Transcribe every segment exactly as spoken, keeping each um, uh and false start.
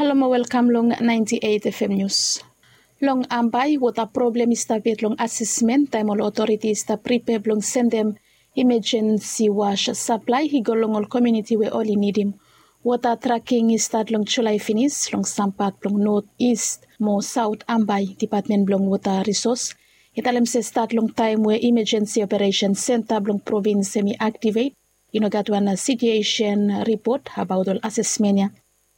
Halo mo welkam long ninety eight F M News. Long Ambae, wota problem i stap yet long asesmen taem ol otoriti i stap pripea blong sendem imajensi was saplae i go long ol komuniti we oli nidim. Wota traking i stat long Julae finis long sam pat blong Not Ist mo Saot Ambae. Dipatmen blong Wota Risos i talem se stat long taem we imajensi operesen senta blong provins hemi aktivet, i no gat wan sitiuesen ripot abaot ol asesmen ya.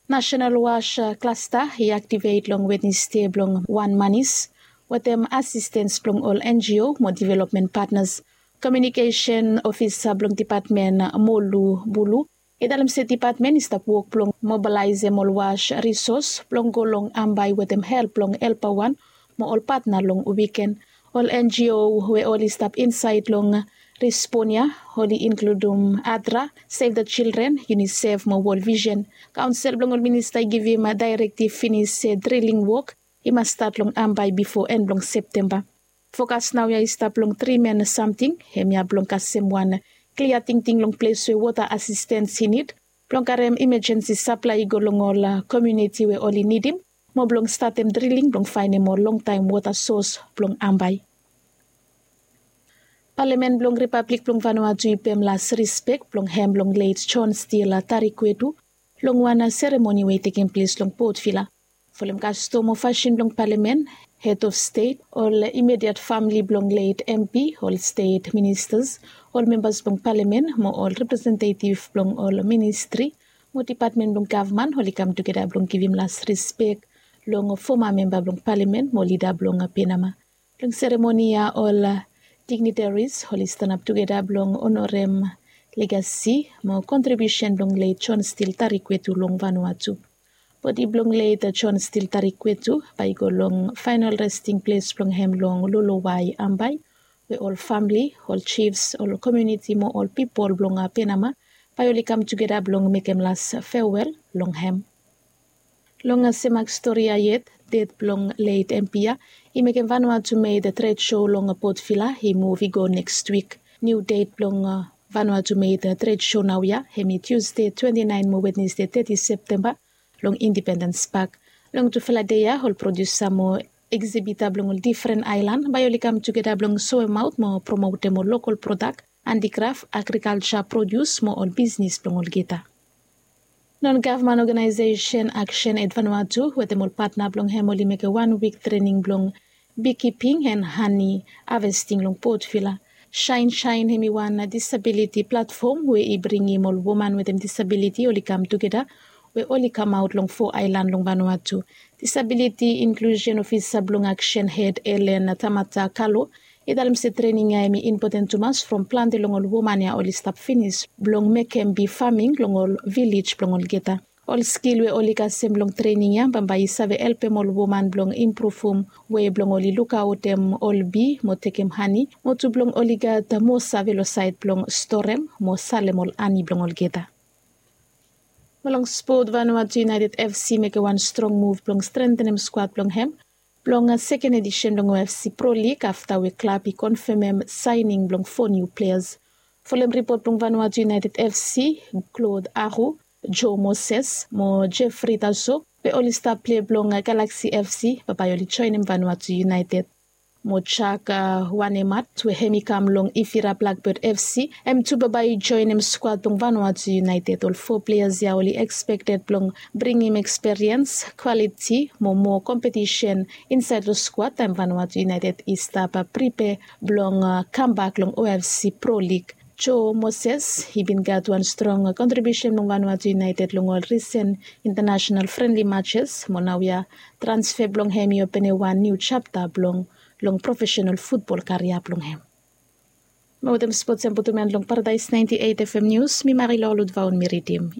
Nasenal Was Klasta i aktivet long Wednesde blong wan manis wetem asistens blong ol N G O mo developmen patnas. Komiunikesen ofisa blong dipatmen Molu Bulu i talem se dipatmen i stap wok blong mobalaesem ol was risos blong go long Ambae wetem help blong Helpa Wan mo ol patna long wiken. Ol N G O we oli stap insaed long respon ya oli inkludum ADRA, Save the Children, UNICEF mo World Vision. Kaonsel blong ol minista i givim daerektiv finis se driling wok i mas stat long Ambae bifo en blong Septemba. Fokas naoia i stap long tri men samting, hemia blong kasem wan klia tingting long ples we wota asistens i nid blong karem imajensi saplae i go long ol komuniti we oli nidim mo blong statem driling blong faenem ol longtaem wota sos blong Ambae. Palamen blong Ripablik blong Vanuatu i pem las rispek blong hem long let John Steele Tarikwetu long wan seremoni we i tekem ples long Port Vila. Folem kastom o fasin blong palamen, hed of stet, ol imediat famili blong let M P, ol stet ministas, ol membas blong palamen mo ol representetiv blong ol ministri mo dipatmen blong gavman oli kam tugeta blong givim las rispek long foma memba blong palamen mo lida blong Penama. Long seremoni ya ol dignitaris oli stanap tugeta blong onorem legasi mo kontribiusen blong let John Steele Tarikwetu long Vanuatu. Bodi blong let John Steele Tarikwetu bae i go long faenol resting ples blong hem long Lolowai Ambae, we ol famili, ol jifs, ol komuniti mo ol pipol blong Penama bae oli kam tugeta blong mekem las fewel long hem. Long semak stori ya yet, ded blong let M P ya i mekem Vanuatu Made Trade Show long Port Vila i muv i go neks wik. Niu ded blong Vanuatu Made Trade Show naoia hemi Tusde twenti naen mo Wednesde teti Septemba long Independens Pak. Long tufala dei ya ol prodiusa mo eksibita blong ol difren aelan bae oli kam tugeta blong soemaot mo promotem ol lokol prodak, andikraf, agrikalja prodius mo ol bisnis blong olgeta. Non gavman oganaesesen Aksen Ed Vanuatu wetem ol patna blong hem oli mekem wan wik trening blong bikiping en hani havesting long Port Vila. Saen Saen hemi wan disabiliti platfom we i bringim ol woman wetem disabiliti oli kam tugeta we oli kamaot long fo aelan long Vanuatu. Disabiliti inklusen ofisa blong Aksen Ed Elen Tamata Kalo i talem se trening ya hemi impoten tumas from plante long ol woman ya oli stap finis blong mekem bi faming long ol vilej blong olgeta. Ol skil we oli kasem long trening ya bambae i save helpem ol woman blong impruvum wei blong oli lukaotem ol bi mo tekem hani mo tu blong oli gat moa save long saed blong storem mo salem ol hani blong olgeta. Mo long spot, Vanuatu United F C mekem wan strong muv blong strentenem skuad blong hem blong seken edisen blong O F C Pro League afta we klab i konfemem saening blong fo niu pleas. Folem ripot blong Vanuatu United F C, Claude Aru, Joe Moses mo Jeffrey Taso we oli stap plei blong Galaxy F C bambae oli joenem Vanuatu United. Mo Jack Wanemat we hem i kam long Ifira Blackbird F C, hem tu bambae i joenem skuad blong Vanuatu United. Ol fo pleas ya oli ekspekted blong bringim eksperiens, kwaliti mo moa kompetisen insaed long skuad taem Vanuatu United i stap pripea blong kambak long O F C Pro League. Joe Moses i bin gat wan strong kontribiusen blong Vanuatu United long ol risen intanasenal frenli matses mo naoia transfe blong hem i openem wan niu japta blong long profesenal futbol karia blong hem. Mo wetem spots ya mi putum en long Paradaes ninety eight F M Nius, mi Marilou Ludvaon mi ridim.